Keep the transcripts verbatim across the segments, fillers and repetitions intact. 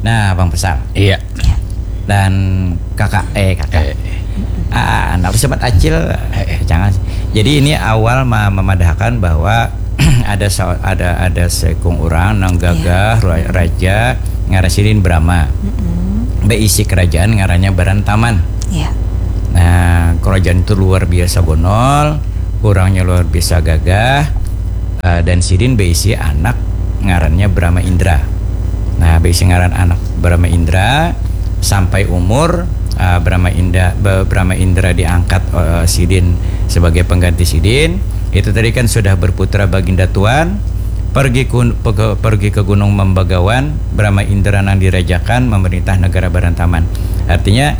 Nah, Bang Pesal. Iya. Dan kakak, eh kakak. Eh. Ah, anak sempat acil, eh, jangan. Jadi ini awal ma- memadahkan bahwa ada sa- ada ada sekung orang nang gagah ra- raja ngaran sidin Brahma. Mm-mm. Beisi kerajaan ngarannya Barantaman. Ya. Nah, kerajaan itu luar biasa bonol, orangnya luar biasa gagah, eh, dan sidin beisi anak ngarannya Brahma Indra. Nah, beisi ngaran anak Brahma Indra sampai umur, eh, Brahma Indra Brahma Indra diangkat, eh, sidin sebagai pengganti sidin. Itu tadi kan sudah berputra Baginda Tuan pergi ke, pergi ke Gunung Membagawan, Brahma Indra nang dirajakan memerintah negara Barantaman. Artinya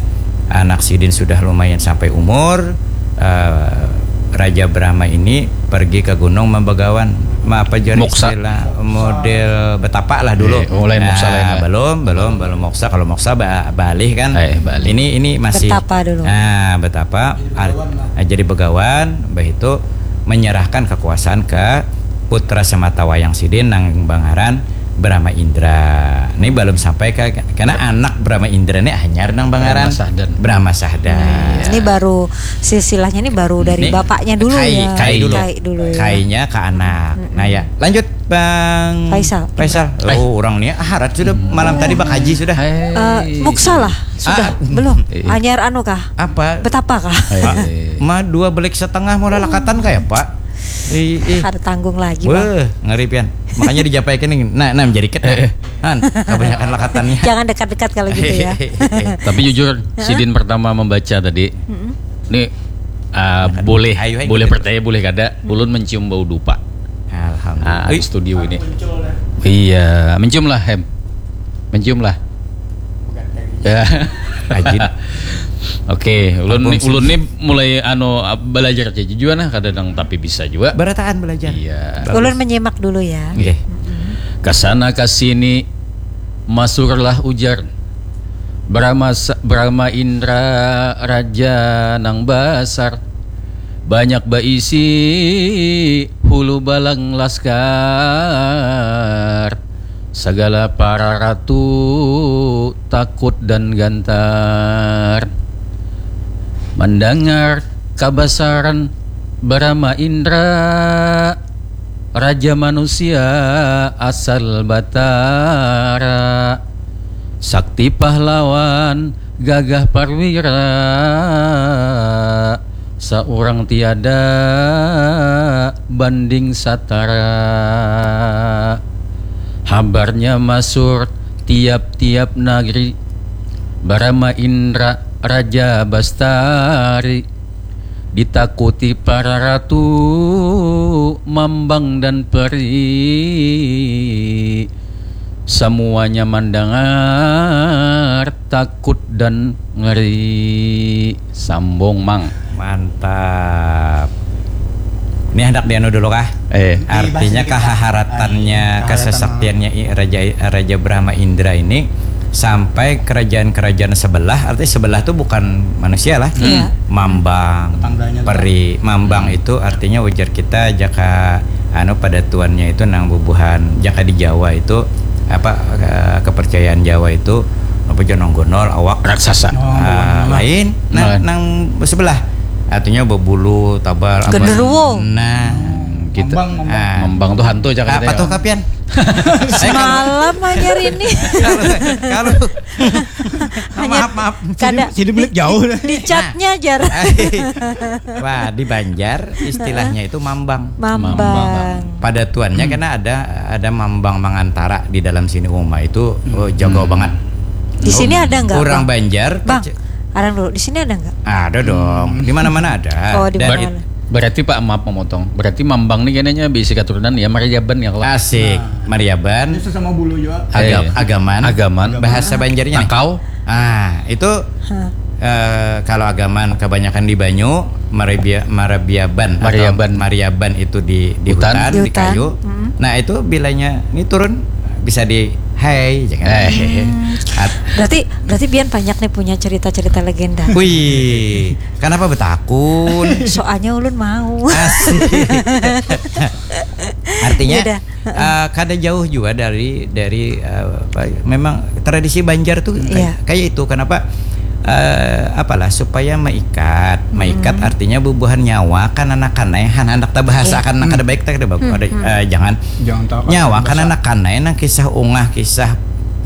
anak sidin sudah lumayan sampai umur, eh, Raja Brahma ini pergi ke Gunung Membagawan. Ma- apa jadi Moksa. Istilah model betapa lah dulu. Eh, oh, lain moksa, lain lah. Belum, belum, belum moksa. Kalau moksa ba- balih kan. Eh, balih. Ini ini masih Betapa dulu. Nah, betapa ar- ah, jadi begawan, begitu menyerahkan kekuasaan ke putra semata wayang sidin nang bangaran Brahma Indra. Ini belum sampai ke karena anak Brahma Indra ini hanyar nang bangaran Brahma Sahdan. Brahma Sahdan. Ini baru silsilahnya ini baru dari Ini bapaknya dulu kai, ya. kai dulu. Kai dulu ya. Kainya ke anak. Nah ya, lanjut Bang Faisal. Faisal. Oh, orang ni harat sudah malam tadi bakaji sudah. Eh, muksa lah sudah Ah. belum? Iya. Anyar anu kah? Apa? Betapa kah? Eh. Ma dua belik setengah mau lalakatan kayak apa? Ih, ih. Ada tanggung lagi bang. Weh, ngeri pian. Makanya dijapaikan ini. Nah, nah menjadi ket. Han, kebanyakan lakatannya. Jangan dekat-dekat kalau gitu ya. Tapi jujur, sidin pertama membaca tadi. Ini ah, boleh Ayo, ayo, boleh kita- percaya boleh kada. Ulun mencium bau dupa. Alhamdulillah. Ah, Ih, di studio ini. Iya, mencium lah Hem. Mencium lah. Ya. Rajin. Oke, ulun ni, Ampun, sih. Ulun ni mulai anu belajar aja juga nah kadang tapi bisa juga. Barataan belajar. Iya. Ulun menyimak dulu ya. Oke. Kasana kasini masurlah ujar. Brahma sa- Brahma Indra raja nang basar. Banyak baisi hulu balang laskar. Sagala para ratu takut dan gantar. Mandangar kabasaran Brahma Indra, raja manusia asal batara. Sakti pahlawan gagah parwira, saurang tiada banding satara. Habarnya masur tiap-tiap nagri, Brahma Indra Raja Bastari, ditakuti para ratu mambang dan peri. Samuanya mandangar takut dan ngeri. Sambung, Mang. Mantap. Ini hendak dianu dulu kah? Eh. Artinya kehaharatannya, Kehaharatannya. Kesesaktiannya i- Raja Raja Brahma Indra ini sampai kerajaan-kerajaan sebelah, artinya sebelah tuh bukan manusia lah. Iya. Mambang, Tetangganya peri, mambang itu artinya ujar kita jaka anu pada tuannya itu nang bubuhan jaka di Jawa itu apa eh, kepercayaan Jawa itu apa jonong gonol awak Raksasa. Oh, ah, bukan. Lain nah Lain. nang sebelah artinya bebulu tabar apa Genderuwo. Nah Gitu. Mambang, mambang. Ah. Mambang tuh hantu aja Apa katanya. Tuh kapian? Semalam anyar ini. Kalau kalau Hanya maaf maaf. kada Jadi milik jauh. Di chatnya jar. Wah, di Banjar istilahnya itu mambang. Mambang. Pada tuannya karena ada ada mambang mangantara di dalam sini uma itu oh, jago banget. Di sini ada nggak? Orang Bang? Banjar Bang, kac- arang dulu. Di sini ada nggak? ada dong. Di mana-mana ada. Oh, di Dan mana? it- Berarti Pak maaf memotong. Berarti mambang nih kayaknya bisi keturunan ya Mariaban ya kalau. Asik, Mariaban, Itu sama bulu juga. Aga- Eh. Agaman, Agaman. bahasa Banjarnya. Takau. Ah, itu Hah. eh, kalau Agaman kebanyakan di banyu, Marabia, Marabiaban atau Mariaban. Mariaban itu di di Hutan. hutan, Di di, hutan. Kayu. Mm-mm. Nah, itu bilanya ini turun bisa di hey jangan. Eh. At- Berarti berarti Bian banyak nih punya cerita-cerita legenda. Wih, kenapa betakun? Soalnya ulun mau. Asik. Artinya Yaudah. Uh, kada jauh juga dari dari uh, apa, memang tradisi Banjar tuh kayak, yeah. kayak itu. Kenapa? Uh, apalah, supaya meikat, meikat hmm. artinya bubuhan nyawa kan anak kanai, han handak tabahasakan yeah. anak kada baik, tak ada bagus. Hmm. Ada, uh, jangan, jangan nyawa kan anak kanai nang kisah ungah, kisah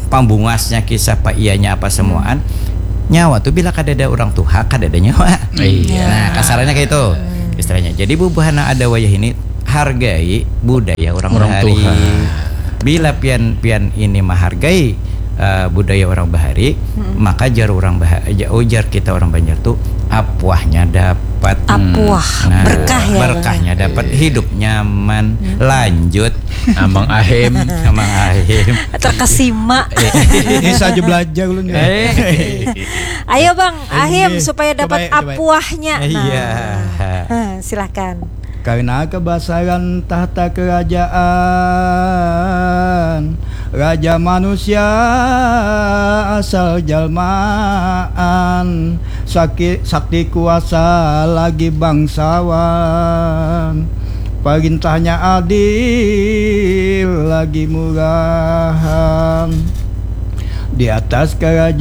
pambungasnya, kisah paiyanya apa semuaan. Hmm. Nyawa tuh bila kada ada orang tuha, kada ada nyawa. Iya. Nah, kasarannya kayak itu. Hmm. Istilahnya. Jadi bubuhan nang ada wayah ini hargai budaya orang, orang bahari. Tuha. Bila pian pian ini menghargai uh, budaya orang bahari, hmm. maka jar orang bahari, ujar kita orang Banjar tuh apuahnya dapat. Apuah, hmm. nah, berkah ya. Berkahnya dapat, iya. Hidup nyaman, hmm. lanjut. Amang ahim, amang ahim. Terkesima. Ini saja belajar ulun. Eh. Ayo Bang, ahim supaya dapat apuahnya. Nah. Iya. Silahkan. Karena kebesaran tahta kerajaan, raja manusia asal jalmaan, sakti, sakti kuasa lagi bangsawan, perintahnya adil lagi murahan. Di atas kerajaan